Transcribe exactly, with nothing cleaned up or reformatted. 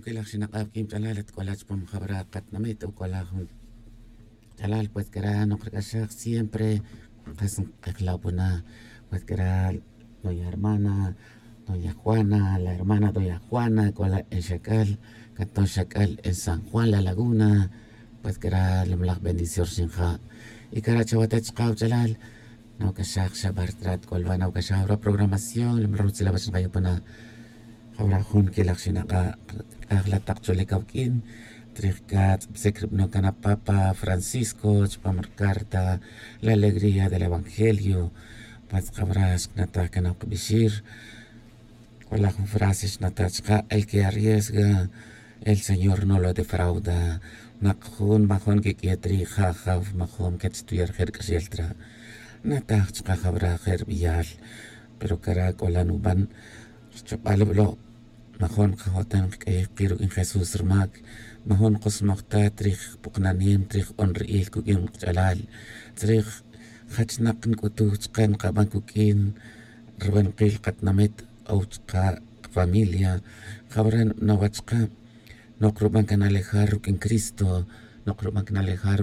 Quilaj xinak'ab quin ch'alal at c'ola chupam jawra katinamit o c'ola jun ch'alal pues c'ara' nokrec'axaj siempre. Kas nk'ejlawpuna pues c'ara' doña hermana doña juana la hermana doña juana c'ola en xac'al, canton xac'al en san juan la laguna. Pues c'ara' lamlaj bendición xinja'. Y c'ara' chawata' chaka' wach'alal nawac'axaj xa bar trat c'olwa nawac'axaj jawra programación lamlaj rutzilawach nkayupuna. Jawra jun quilaj xinak'a' c'ajla tak cholic awuq'uin trij catz' bsec ribano can apapa francisco chupam ricarta la alegría del evangelio. Pues jawra xknataj can awuq' bixir. C'ola jun frase xnata' chaka' el que arriesga el señor no lo defrauda. Nak jun majun quiq'uiye' trij ja' jaw majun quetxtuya' rije' rc'axel tra'. Nataj chaka' jawra je' rbeyal. Pero cara' c'ola nuban rchobal wilo'. Majun kajo'tan kc'ayiy ki ruq'uin jesús rmac. Majun kosmoj ta trij puknanem trij onri'il cuq'uin kach'alal trij jachnak nc'utuj chaka' nkaban cuq'uin rubankil katinamit o chaka' kafamilia. Jawra nbana' wach chaka' nok ruban can alejar ruq'uin cristo. Nok ruban can alejar